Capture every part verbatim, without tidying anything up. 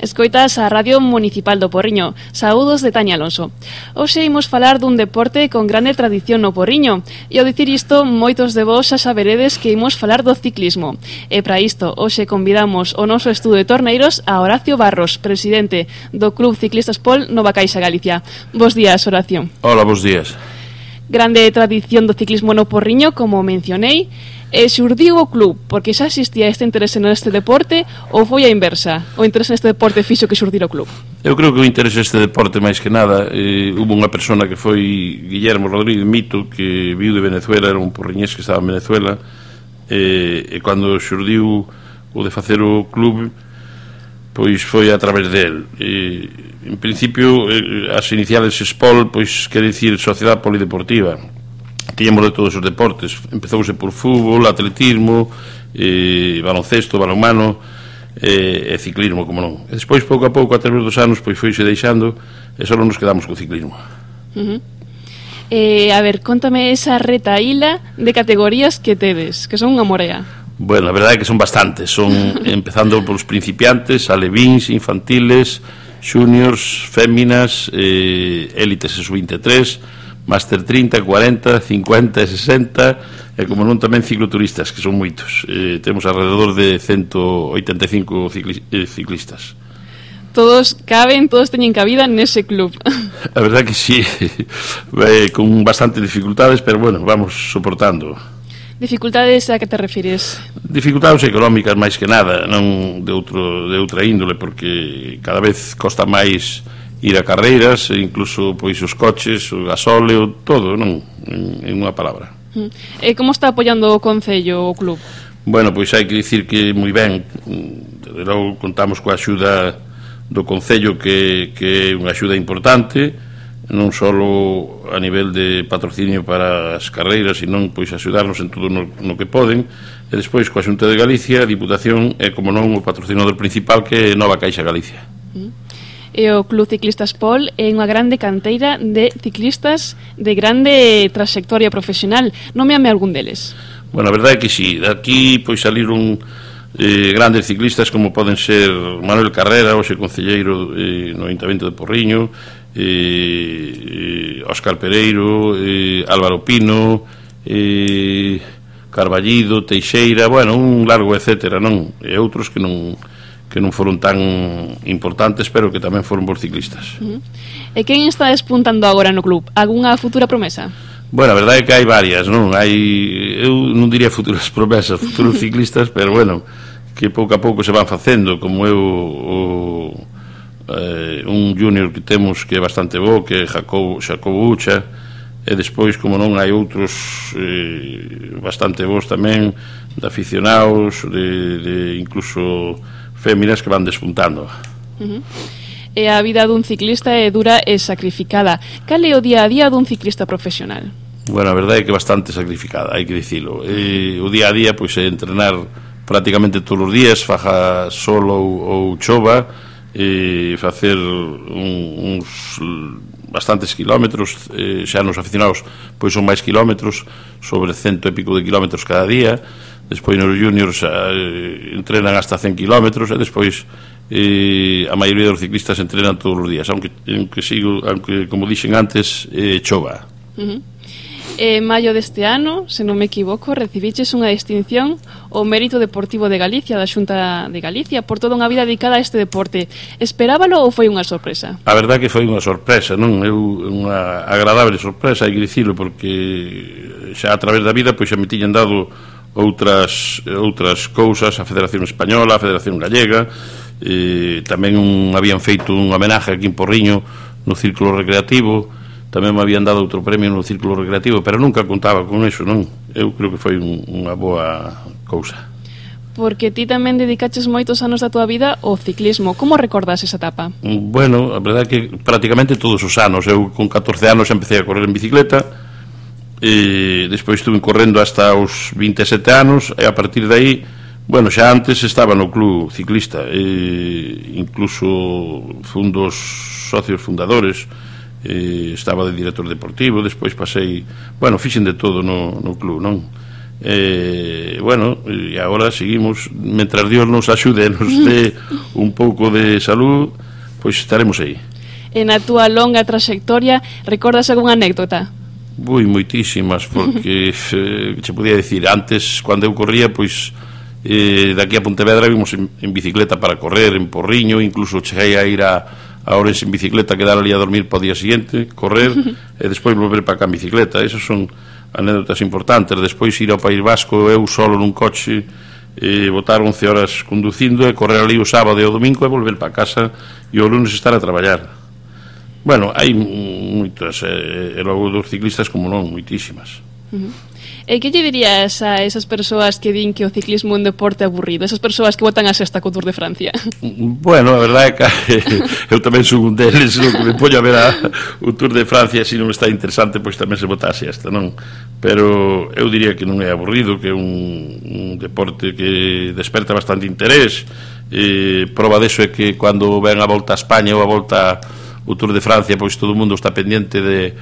Escoitas a Radio Municipal do Porriño. Saúdos de Tania Alonso. Hoxe imos falar dun deporte con grande tradición no Porriño. E ao dicir isto, moitos de vos xa saberedes que imos falar do ciclismo. E para isto, hoxe convidamos ao noso estudo de torneiros a Horacio Barros, presidente do Club Ciclistas Pol Nova Caixa Galicia. Bos días, Horacio. Hola, bos días. Grande tradición do ciclismo no Porriño, como mencionei. E xurdiu o club porque xa existía este interese neste deporte ou foi a inversa? O interese neste deporte fixo que xurdir o club? Eu creo que o interese neste deporte máis que nada eh, hubo unha persona que foi Guillermo Rodríguez Mito, que viu de Venezuela, era un porriñés que estaba en Venezuela, eh, e cando xurdiu o de facer o club, pois foi a través del. Eh, en principio, eh, as iniciales SPOL, pois quere dicir Sociedade Polideportiva. Tiñamos de todos os deportes, empezouse por fútbol, atletismo, eh, baloncesto, balonmano eh, e ciclismo, como non. E despois, pouco a pouco, a través dos anos, pois foise deixando e só nos quedamos co ciclismo. Uh-huh. eh, A ver, contame esa retaíla de categorías que tedes, que son unha morea. Bueno, a verdade é que son bastantes, son empezando polos principiantes, alevíns, infantiles, juniors, féminas, eh, élites e sub veintitrés, Máster trinta, cuarenta, cincuenta e sesenta, e como non tamén cicloturistas, que son moitos. Eh, temos alrededor de ciento oitenta e cinco cicli eh, ciclistas. Todos caben, todos teñen cabida nese club. A verdade que sí, eh, con bastante dificultades, pero bueno, vamos soportando. Dificultades a que te refires? Dificultades económicas máis que nada, non de, outro, de outra índole, porque cada vez costa máis ir a carreiras, incluso pois os coches, o gasóleo, todo, non? En, en unha palabra. E como está apoiando o Concello, o club? Bueno, pois hai que dicir que moi ben. Logo contamos coa axuda do Concello, que, que é unha axuda importante, non só a nivel de patrocinio para as carreiras, sino pois axudarnos en todo no, no que poden, e despois coa Xunta de Galicia, a Diputación e, como non, o patrocinador principal, que é Nova Caixa Galicia. E o Club Ciclistas Pol é unha grande canteira de ciclistas de grande trayectoria profesional. Nómeame algún deles. Bueno, a verdade é que sí. Aquí pois saliron eh, grandes ciclistas como poden ser Manuel Carrera, hoxe concelleiro eh, no Ayuntamiento de Porriño, eh, eh, Óscar Pereiro, eh, Álvaro Pino, eh, Carballido, Teixeira, bueno, un largo etcétera, non? E outros que non que non foron tan importantes, pero que tamén foron bons ciclistas. Uh-huh. E quen está despuntando agora no club? Algúnha futura promesa? Bueno, a verdade é que hai varias, non? Hai, eu non diría futuras promesas, futuros ciclistas, pero bueno, que pouco a pouco se van facendo, como eu o, eh, un junior que temos que é bastante bo, que é Jacobo, Jacobo Ucha, e despois, como non, hai outros eh, bastante bons tamén, de aficionados, de, de incluso féminas que van despuntando. Uh-huh. E a vida dun ciclista é dura e sacrificada. Cal é o día a día dun ciclista profesional? Bueno, a verdade é que bastante sacrificada, hai que dicilo. E o día a día pois é entrenar prácticamente todos os días, faja solo ou, ou chova, e facer un, uns bastantes kilómetros, eh, xa nos aficionados pois son máis kilómetros, sobre cento e pico de kilómetros cada día. Despois nos juniors eh, entrenan hasta cen kilómetros, e despois eh, a maioría dos ciclistas entrenan todos os días, aunque, aunque, sigo, aunque como dixen antes, eh, chova. Uh-huh. En maio deste ano, se non me equivoco, recibiches unha distinción ao Mérito Deportivo de Galicia, da Xunta de Galicia, por toda unha vida dedicada a este deporte. Esperábalo ou foi unha sorpresa? A verdade que foi unha sorpresa, non? É unha agradable sorpresa, hai que dicilo, porque xa a través da vida pois xa me tiñan dado outras outras cousas, a Federación Española, a Federación Gallega, eh, tamén un, habían feito un homenaje aquí en Porriño no Círculo Recreativo, tamén me habían dado outro premio no Círculo Recreativo, pero nunca contaba con eso, non? Eu creo que foi un, unha boa cousa. Porque ti tamén dedicaches moitos anos da tua vida ao ciclismo. Como recordas esa etapa? Bueno, a verdade é que prácticamente todos os anos. Eu con catorce anos empecé a correr en bicicleta, e despois estuve correndo hasta os vinte e sete anos, e a partir de aí, bueno, xa antes estaba no club ciclista, e incluso fun dos socios fundadores, e estaba de director deportivo, despois pasei, bueno, fixen de todo no, no club, non? eh, bueno, e agora seguimos, mentras Dios nos axude e nos dé un pouco de salud, pois estaremos aí. En a túa longa trayectoria, recordas algunha anécdota? Ui, moitísimas, porque eh, che podía dicir, antes, cando eu corría, pois eh, daqui a Pontevedra vimos en, en bicicleta para correr, en Porriño, incluso cheguei a ir a a Ourense en bicicleta, quedar ali a dormir para o día siguiente, correr e despois volver para cá en bicicleta. Esas son anécdotas importantes. Despois ir ao País Vasco eu solo nun coche, e botar once horas conducindo e correr ali o sábado e o domingo e volver para casa e o lunes estar a traballar. Bueno, hai moitas, e, e logo dos ciclistas como non, moitísimas. Uh-huh. E que lle dirías a esas persoas que din que o ciclismo é un deporte aburrido, esas persoas que botan a sexta co Tour de Francia? Bueno, a verdade é que eu tamén son un deles, no que me poño a ver a, o Tour de Francia, se non está interesante, pois tamén se bota a sexta, non? Pero eu diría que non é aburrido, que é un, un deporte que desperta bastante interés. E prova deso é que cando ven a volta a España ou a volta o Tour de Francia, pois todo o mundo está pendiente de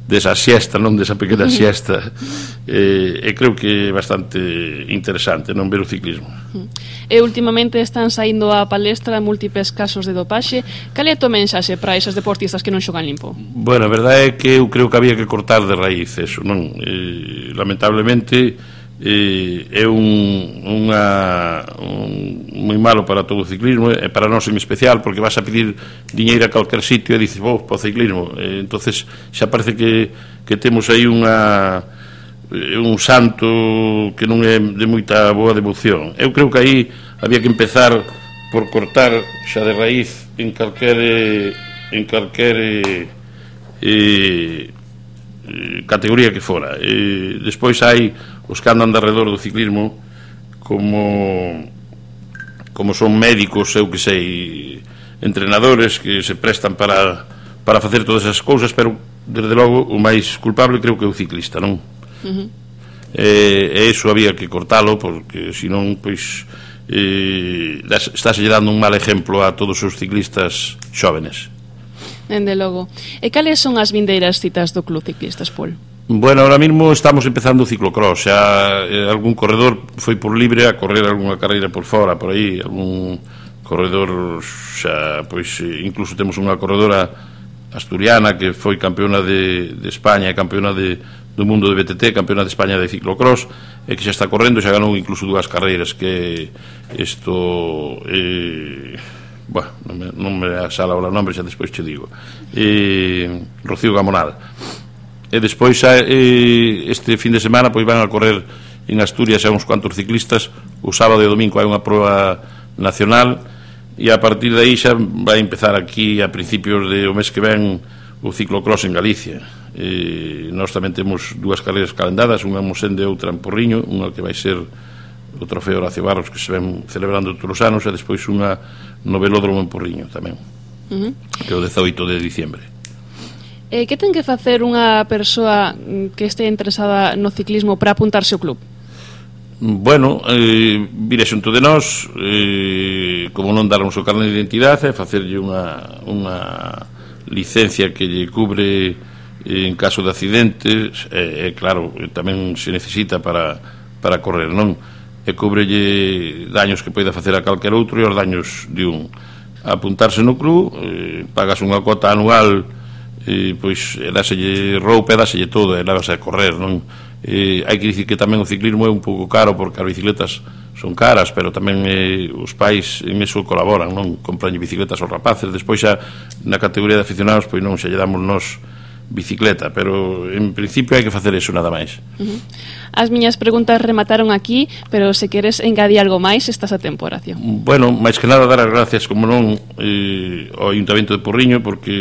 desa siesta, non desa pequena siesta, e, e creo que é bastante interesante non ver o ciclismo. E últimamente están saindo a palestra múltiples casos de dopaxe. Cal é a tua mensaxe para esas deportistas que non xogan limpo? Bueno, a verdade é que eu creo que había que cortar de raíz eso, non? E, lamentablemente eh, é un, unha, un moi malo para todo o ciclismo e para nós en especial, porque vas a pedir diñeiro a calquer sitio e dices, vou, para o ciclismo, e, entonces xa parece que, que temos aí unha un santo que non é de moita boa devoción. Eu creo que aí había que empezar por cortar xa de raíz en calquer en calquer eh, categoría que fora. E despois hai os que andan de arredor do ciclismo como como son médicos, eu que sei, entrenadores que se prestan para para facer todas esas cousas, pero desde logo o máis culpable creo que é o ciclista, non? Uh-huh. E, e iso había que cortalo, porque senón pois eh, estáse dando un mal exemplo a todos os ciclistas xóvenes. Dende logo. E cales son as vindeiras citas do Club Ciclistas, Pol? Bueno, ahora mismo estamos empezando o ciclocross. Xa eh, algún corredor foi por libre a correr algunha carreira por fora, por aí, algún corredor xa, pois, incluso temos unha corredora asturiana que foi campeona de, de España e campeona de, do mundo de B T T, campeona de España de ciclocross, e que xa está correndo, xa ganou incluso dúas carreiras, que isto eh, bueno, non me, non me asala o nombre, xa despois che digo, eh, Rocío Gamonal. E despois eh, este fin de semana pois van a correr en Asturias a uns cuantos ciclistas. O sábado e o domingo hai unha proba nacional e a partir de aí xa vai empezar aquí a principios de o mes que ven o ciclocross en Galicia. E nós tamén temos dúas carreiras calendadas, unha en Mosende e outra en Porriño, unha que vai ser o trofeo Horacio Barros que se ven celebrando todos os anos, e despois unha no velódromo en Porriño tamén, uh-huh. que é o dezaoito de diciembre. Eh, que ten que facer unha persoa que este interesada no ciclismo para apuntarse ao club? Bueno, eh, vire xunto de nós, eh, como non darnos o carné de identidade, facerlle unha, unha licencia que lle cubre en caso de accidentes, e eh, claro, tamén se necesita para, para correr, non? E cubrelle daños que poida facer a calquer outro e os daños de un. Apuntarse no club, eh, pagas unha cuota anual, e pois dáselle roupa e dáselle todo e levas a correr, non? E hai que dicir que tamén o ciclismo é un pouco caro, porque as bicicletas son caras, pero tamén eh, os pais en eso colaboran, non? Compranlle bicicletas aos rapaces. Despois xa na categoría de aficionados pois non, xa lle damos nós bicicleta, pero en principio hai que facer eso nada máis. Uh-huh. As miñas preguntas remataron aquí, pero se queres engadir algo máis, estás a tempo, Horacio. Bueno, máis que nada dar as gracias, como non, eh, ao Ayuntamento de Porriño, porque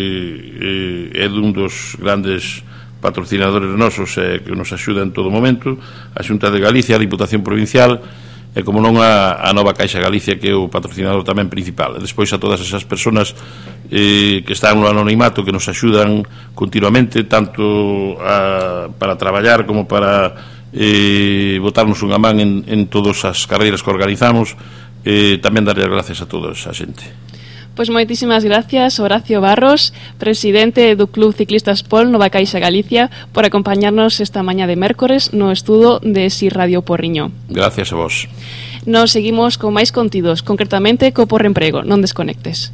eh, é dun dos grandes patrocinadores nosos eh, que nos axuda en todo momento, a Xunta de Galicia, a Diputación Provincial, e como non a, a Nova Caixa Galicia, que é o patrocinador tamén principal. E despois a todas esas persoas eh, que están no anonimato, que nos axudan continuamente, tanto a, para traballar como para eh, botarnos unha man en, en todas as carreiras que organizamos. Eh, tamén darlle as gracias a toda esa xente. Pois moitísimas gracias, Horacio Barros, presidente do Club Ciclistas Pol Nova Caixa Galicia, por acompañarnos esta mañá de mércores no estudo de Si Radio Porriño. Gracias a vos. Nos seguimos con máis contidos, concretamente co Porremprego. Non desconectes.